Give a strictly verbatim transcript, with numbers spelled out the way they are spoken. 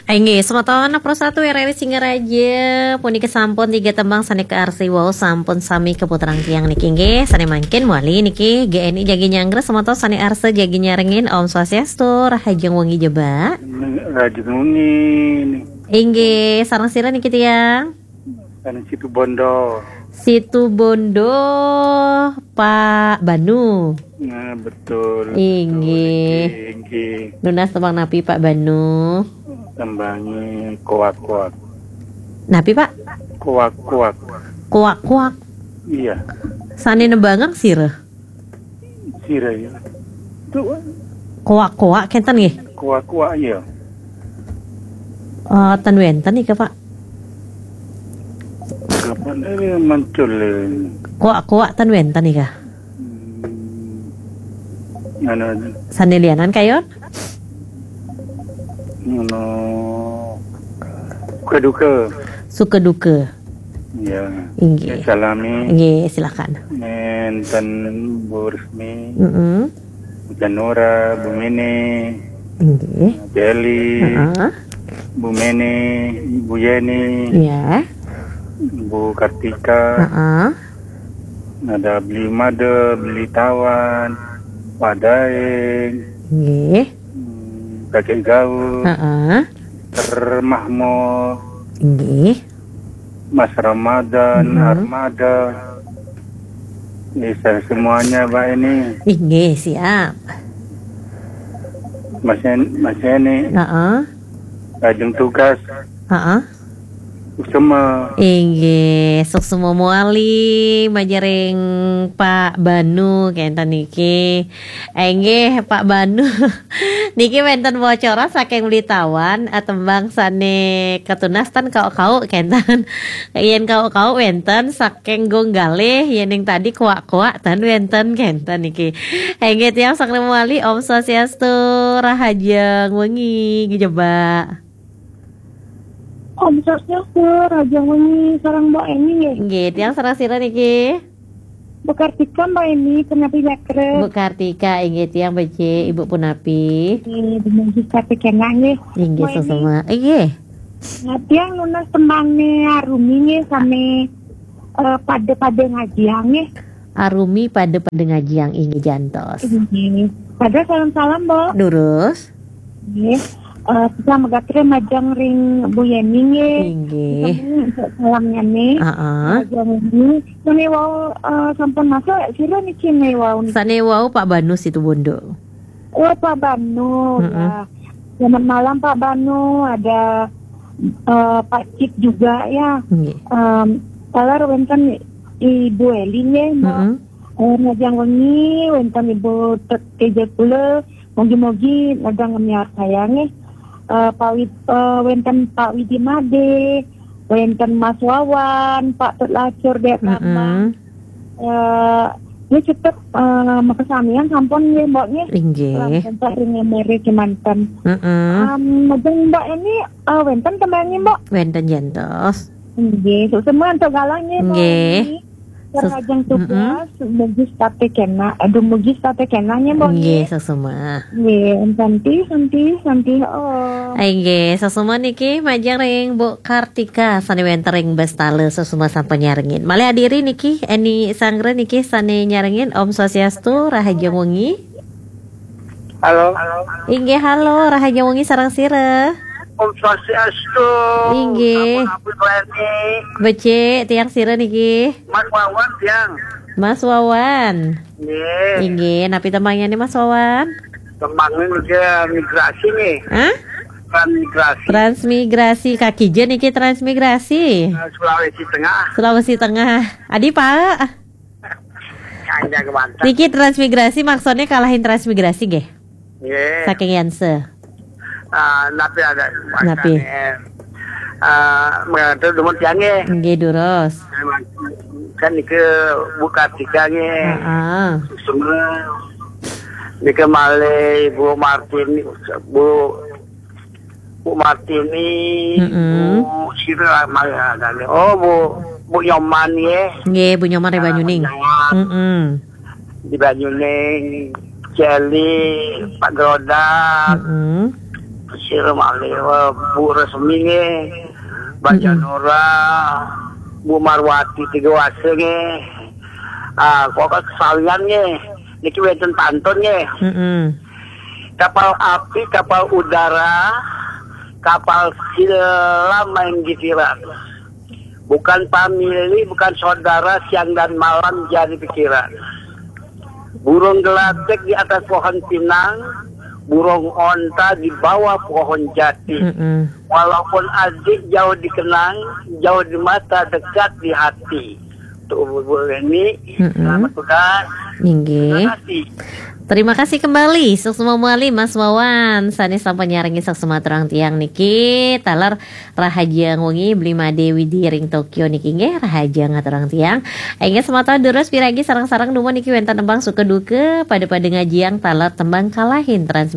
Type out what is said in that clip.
Inggih, semeton Pro satu R R I Singaraja, puniki sampun tiga tembang sane kaarsi wau sampun sami kaputerang tiang niki, inggih. Sane mangkin mawali niki G N I jagi nyanggra, semeton sane arsa jagi nyarengin. Om Swastiastu, rahajeng wengi jebak. Rahajeng wengi. Inggih, sareng sira niki tiang? Sareng Situbondo. Situbondo, Pak Banu. Nah, betul. Inggih. Betul, inggih, inggih. Nunas tembang napi, Pak Banu? Tembange koak-koak. Napi, Pak? Koak-koak. Koak-koak. Iya. Sane nembangeng sira? Sira, ya. Tuh. Koak-koak kenten nggih? Koak-koak, iya. Eh, ten wenten nika, Pak? Kapan ini muncul ini? Koak-koak ten wenten nika? Hmm. Anu, sane lianan kayon? Anu, suka duka. Suka duka. Ya. Inggih. Salami. Inggih, silakan. Nenten Bu Resmi. Mm-mm. Bu Janura, Bu Mene. Inggih. Bu Eli. Heeh. Bu Mene, Bu Yeni. Iya. Bu Kartika. Heeh. Ada Beli Made, Beli Tawan, Pak Daeng. Inggih. Hmm, Kakek Gaul. Heeh. Ter Mahmud. Inggih. Mas Ramadan, mhm. Armada. Bisa semuanya, Mbak Eni. Inggih, siap. Mas En-, Mas Eni. Heeh. Lajeng tugas. Heeh. Suksema. Inggih, suksema mawali majeng ring Pak Banu kenten niki. Inggih, Pak Banu. Niki wenten bocoran saking Beli Tawan, eh, tembang sane katunas ten kauk-kauk kenten. Yen kauk-kauk wenten saking Gong Galih, yening tadi koak-koak ten wenten kenten niki. Inggih tiang saking mawali, Om Swastiastu, rahajeng wengi, jebak. Om Swastiastu, rahajeng wengi, sareng Mbok Eni nggih. Nggih, tiang sareng sira niki? Bu Kartika, Mbok Eni, punapi jatra? Bu Kartika, inggih tiang becik, Ibu punapi? Nggih, dumugi sami kenak nggih. Inggih, Mbok Eni. Sesama. Inggih. Nah, tiang nunas tembange Arumi nggih, sami, eh, pada-pada ngajiang nggih. Arumi pada-pada ngajiang, inggih jantos. Inggih. Pada salam-salam, Mbok. Durus. Nggih. Eh, sami gatra majeng ring Bu Yeni nggih. Inggih. Sami untuk salamnya nih. Heeh. Majeng ini. Sane wau, eh, sampun masuk, sira niki sane wau niki? Sane wau Pak Banu Situbondo. Oh, Pak Banu, mm-mm, ya. Selamat malam, Pak Banu. Ada, eh, Pak Cip juga, ya. Nggih. Em, taler wenten Ibu Eli nggih, Mbok. Mm-mm. Eh, majeng wengi wenten Ibu Tet-, Teja kula. Mugi-mugi nedang ngemiar saya nggih. Eh, Pak Wid-, eh, wenten Pak Widi Made, wenten Mas Wawan, Pak Tut Lacur, Dek Bambang. Mm-mm. Eh, ini cukup, eh, makasamian sampun nggih, Mbok nggih. Inggih. Salam sempat ring Mary kemanten. Mm-mm. Em, majeng Mbok Eni, eh, wenten tembange, Mbok? Wenten jantos. Inggih, suksema antuk galah nggih, Mbok Eni. Nggih. Sus-, rahajeng tugas, mm-mm, mugi sami kenak. Aduh, mugi sami kenak nggih, Mbok nggih, nggih. Sesama. Nggih, santi, santi, santi, oh. Inggih, sesama niki majeng ring Bu Kartika, sane wenten ring Bestala, sesama sampun nyarengin. Malih adiri niki, Eni Sanggra niki sane nyarengin, Om Swastiastu, rahajeng wengi. Halo. Inggih, halo, rahajeng wengi sareng sira? Om Swastiastu. Inggih. Sampun ampun, Bu Eni. Becik, tiang sira niki? Mas Wawan, tiang. Mas Wawan. Nggih. Inggih, napi tembange nih, Mas Wawan? Tembange niki migrasi nih. Hah? Transmigrasi. Transmigrasi, kaki je niki transmigrasi. Eh, Sulawesi Tengah. Sulawesi Tengah. Adi, Pak? Kanja kemanten. Niki transmigrasi maksudnya kalahin transmigrasi nggih? Nggih. Saking Yanse. Ah, napi ada napi? Makane, ah, mengatur dumun tiang nggih. Nggih, durus. Kan niki Bu Kartika nggih. Heeh. Semua. Niki malih Bu Martin, Bu Bu Martini, mm-mm, Bu sira malih ada. Oh, Bu, Bu Nyoman nggih. Nggih, Bu Nyoman ring Banyuning. Nyoman. Mm-mm. Di Banyuning, Celi, Pak Grodak. Mm-mm. Terus Sira malih, eh, Bu Resmi nggih, Mbak Janora, Bu Marwati Tiga Wase nggih. Ah, kok kesalian nggih. Niki wenten pantun nggih. Kapal api, kapal udara, kapal selam main gisiran. Bukan pamilih, bukan saudara, siang dan malam jadi pikiran. Burung gelatik di atas pohon pinang, burung onta di bawah pohon jati. Walaupun adik jauh dikenang, jauh di mata, dekat di hati. Tuh, Bu Reni, selamat tugas. Inggih. Terima kasih. Terima kasih kembali, suksma malih Mas Wawan. Sané sampun nyarengin suksma aturang tiang niki, taler rahajeng wengi Bli Made Widi ring Tokyo niki nggih, rahajeng aturang tiang. Inggih semata durus piragi sareng-sareng dumun niki wénten tembang suka duka, pada-pada ngajiang taler tembang kalahin transmisi